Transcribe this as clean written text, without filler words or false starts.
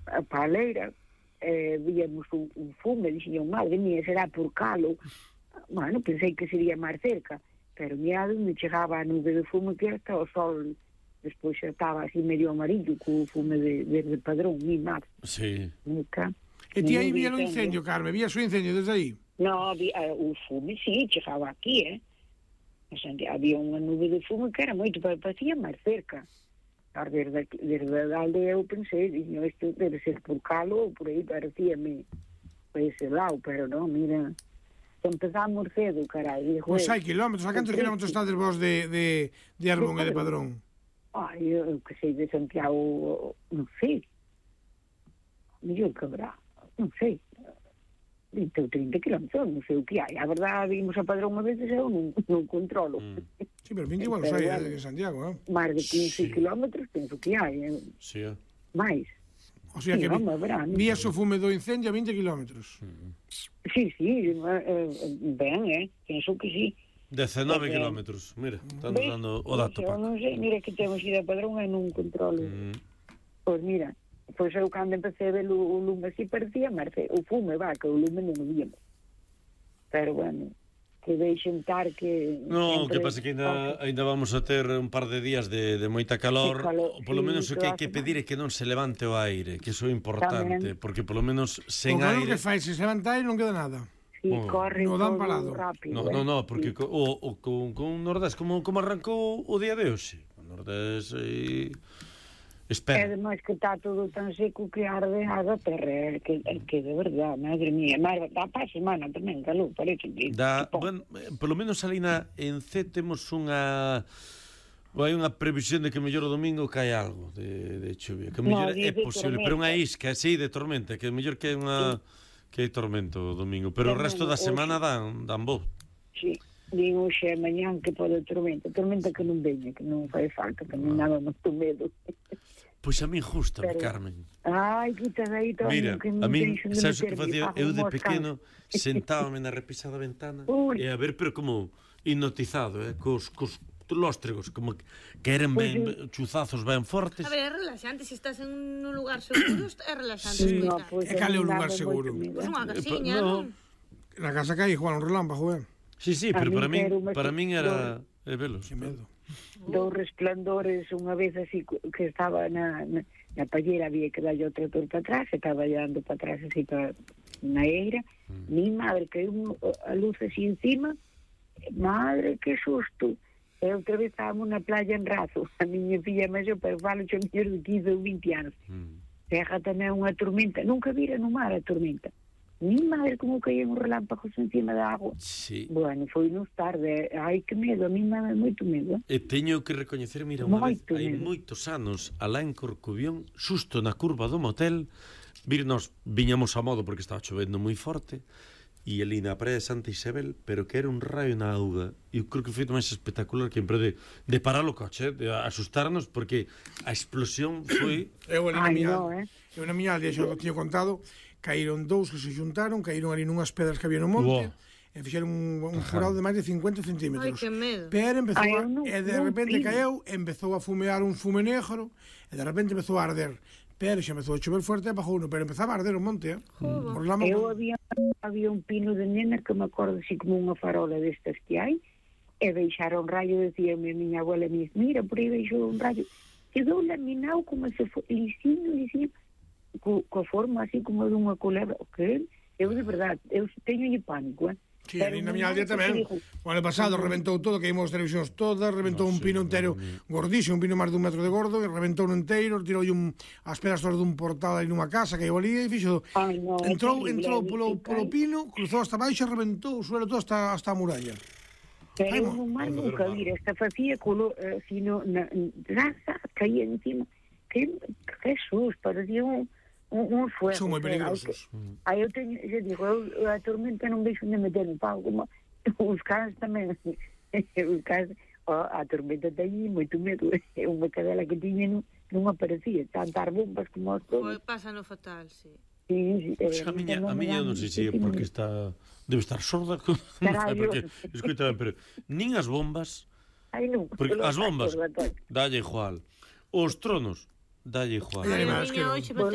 a paleira, víamos un fume, dixen, madre mía, será por calo. Bueno, pensei que sería máis cerca, pero mira onde chegaba a nube de fume que hasta o sol despois xa estaba así medio amarillo co fume de Padrón, mi mar. Sí. Nunca. E ti aí vía o incendio, Carme? Vías o incendio desde aí? No, o fume, sí, chegaba aquí, había unha nube de fume que era moito, pero parecía máis cerca. Desde a aldea eu pensei, isto debe ser por calo ou por aí, parecíame por ese lado, pero non, mira, empezamos cedo, carai. Pois hai kilómetros, a cantos kilómetros estades vos de Arbón e de Padrón? Ai, eu que sei, de Santiago, non sei, mellor que habrá, non sei, 20 ou 30 kilómetros, non sei o que hai. A verdade, vimos a Padrón unha vez e eu non controlo. Sí, pero 20 igual sei de Santiago, non? Máis de 15 kilómetros penso que hai. Sí. Mais. O sea que vías o fume do incendio a 20 kilómetros. Sí, ben, penso que sí. 19 kilómetros, mira, están dando o dato, Paco. Non sei, mira que temos ido a Padrón e non controlo. Pois mira, pois eu cando empecé a ver o lume así parecía marce, o fume, que o lume non o víamos. Pero bueno, que deixen tar que... Non, que pasa que ainda vamos a ter un par de días de moita calor, polo menos o que hai que pedir é que non se levante o aire, que iso é importante, porque polo menos sen aire... O que fai, se se levanta aire non queda nada. Sí, corre todo rápido. No, porque con Nordés, como arrancou o día de hoxe? O Nordés... Espera. E ademais que está todo tan seco que arde a terra, que de verdade, madre mía, dá para a semana tamén, calor, parece que... Bueno, polo menos ali en C temos hai unha previsión de que mellor o domingo cae algo de chuvia, que mellor é posible, pero unha isca, sí, de tormenta, que mellor que hai tormento o domingo, pero o resto da semana dan bo. Sí. Din hoxe e mañán que pode tormenta que non veña, que non fai falta, que non daba moito medo. Pois a mí justame, Carmen. Ai, quita aí todo. Mira, a mí, sabes o que facía? Eu de pequeno sentábame na repisa da ventana e a ver, pero como hipnotizado, cos lóstregos, como que eran ben chuzazos ben fortes. A ver, é relaxante, se estás en un lugar seguro, é relaxante. Sí, e cal é o lugar seguro? Pois unha casiña, non? Na casa que hai, Juan, un relámpago, Sí, pero para min era velos. Que medo. Dous resplandores unha vez así que estaba na pallera, había que darlle o trator para atrás, estaba dando para atrás así na eira, mi madre caiu a luz así encima, madre, que susto. E outra vez estábamos na playa en Razo, a miña filla máis pero falo xo mellor de 15 ou 20 anos. Terra tamén unha tormenta, nunca vira no mar a tormenta. Mi madre como caían os relámpagos encima da agua. Sí. Bueno, foi nos tarde. Ai, que medo, a mí me dá moito medo. E teño que recoñecer, mira, unha vez, hai moitos anos, alá en Corcubión, xusto na curva do motel, nos viñamos a modo porque estaba chovendo moi forte, e ali na praia de Santa Isabel, pero que era un raio na auga, e eu creo que foi máis espectacular que en preo de parar o coche, de asustarnos, porque a explosión foi... Eu na miña aldea, xa o tiño contado, caíron dous que se xuntaron, caíron ali nunhas pedras que había no monte, e fixeron un furado de máis de 50 centímetros. Ai, que medo. Pero empezou e de repente caeu, empezou a fumear un fume negro, e de repente empezou a arder. Pero xa empezou a chover fuerte e apagou uno, pero empezaba a arder o monte, Eu había un pino de nena que me acordo así como unha farola destas que hai, e deixaron un rayo, decíame a miña abuela, mira, por aí deixou un rayo, quedou laminado como se foi, lisinho, coa forma así como de unha culebra. O que? Eu de verdade, eu teño pánico, Sí, ali na miña aldea tamén. O ano pasado reventou todo, queimou as televisións todas, reventou un pino inteiro gordísimo, un pino máis dun metro de gordo, e reventou un inteiro, tirou as pedras todas dun portal aí nunha casa que hai ali, e fixo... Entrou polo pino, cruzou hasta baixo e reventou o suelo todo hasta a muralla. Pero non máis nunca vir, esta facía sino na raza, caía encima. Que Jesús, parecía un fuego. Son moi peligrosos. Aí eu digo, a tormenta non veixo onde meter no pau, como os cans tamén, os cans, a tormenta teñe moito medo, unha cadela que tiña non aparecía, tantas bombas como as todos. Pasa no fatal, sí. Sí, a miña non sei se porque debe estar sorda, porque escoita ben, pero nin as bombas, porque as bombas dalle igual, os tronos dalle igual. A miña hoxe meteu